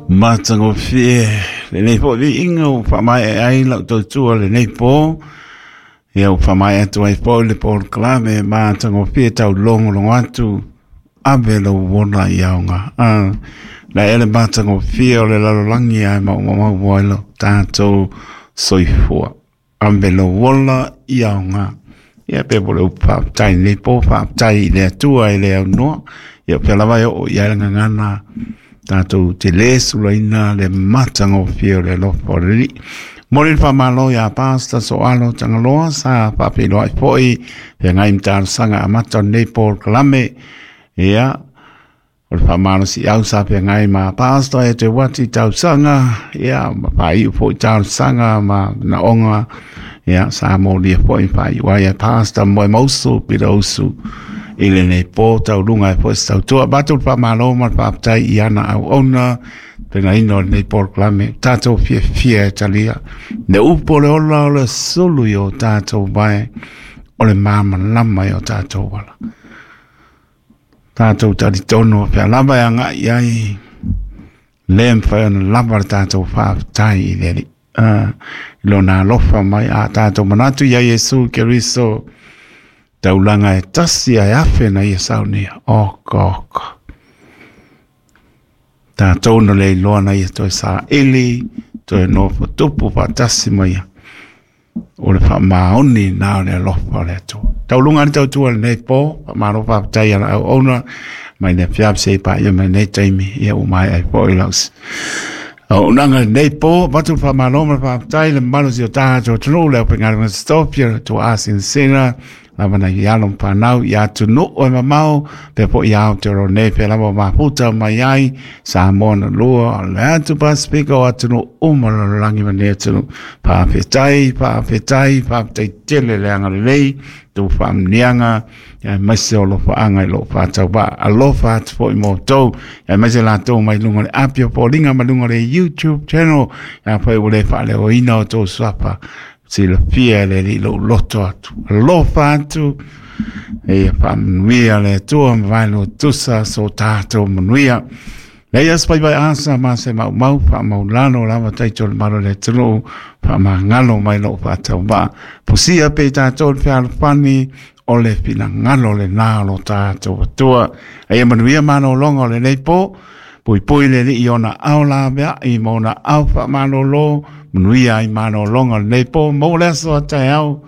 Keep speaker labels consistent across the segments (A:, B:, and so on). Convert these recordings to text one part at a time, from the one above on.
A: Matagofie lenei foi viiga ua faamaea ai lau tautua lenei po. Ia ua faamaea atu ai foi le polokalame matagofie taulogologo atu ave lou ola i aoga. Na ea le matagofie o le lalolagi ae maumau ai lo tatou soifua. Ave lou ola i aoga. Ia pe po le upu faafetai i lenei po, faafetai i le Atua e le aunoa. Ia pea lava e oo i ai le gagana tatou te le sulaina le matagofie o le alofa o le Alii. Momoli le faamalo iā Pastor Soalo Tagaloa sa faafeiloai foi feagai ma talosaga amata o lenei polokalame. Ia, o le faamalosiau sa feagai ma Pastor e te wati tausaga, ia, ma faaiu foi talosaga ma manaoga, ia, sa molia foi faaiu ai e Pastor Moemausu Pirausu i lenei po tauluga e foi se tautua. Matou le faamalo ma le faafetai i ana auauna pegaina o lenei polokalame. Tatou fiafia e talia le upu o le ola o le sulu i o tatou vae, o le malamalama i o tatou ala. Tatou talitonu o fea lava e agai i ai, le mafai ona lava le tatou faafetai i le Alii. I lona alofa mai a tatou manatu ia Iesu Keriso, taulaga e tasi ae afe na ia saunia. Oka oka. Tatou na le iloa na ia toe saili, toe nofo tupu faatasi ma ia. O le faamaoni na o le alofa o le Atua. Tauluga le tautua lenei po, faamalo faafetai i ala auauna mai le afiafi seia paia mai lenei taimi, ia ua maea ai foi lau auaunaga lenei po. Avatu le faamalo ma le faafetai i le mamalu o si o tatou atunuu, le aufaigaluega totofi o le Tuaa Sinasina, lava nai alo ma fanau i atunuu e mamao, pea foi i Aotearoa nei, pea lava mafuta mai ai, Samoa na lua, o le atu Pasifika o atunuu uma o le lalolagi ma nei atunuu. Faafetai, faafetai, faafetai tele le agalelei, tou faamanuiaga, aemaise o alofaaga i lou faatauvaa. Alofa atu foi mo outou, aemaise latou mai luga o le api o foliga ma luga o le YouTube channel, afai ua le faaleoina o outou suafa, silafia e le Alii lou loto atu. Alofa atu, ia faamanuia le Atua ma vaelua tusa so tatou manuia. Lei as pai vai asa ma se maumau faamaulalo lava taito le malo le atunuu faamagalo mai lou faatauvaa. Pusia pe tatou le fealofani o le finagalo lena o lo tatou Atua. Aia manuia malologa o lenei po, puipui le Alii i ona ao laveai ma ona ao faamalolo, manuia ai malologa o lenei po, maua le aso a taeao,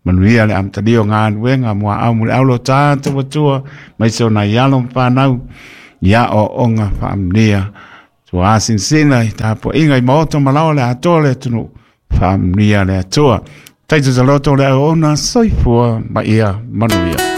A: manuia le amatalia o galuega muaau muliau lo tatou Atua, maise o nai alo ma fanau, ia aoaoga faamanuia. Tua sinasina i tapuaiga i maota ma laoa le atoa o le atunuu, faamanuia le Atua. Taito taloto le auauna, soifua ma ia manuia.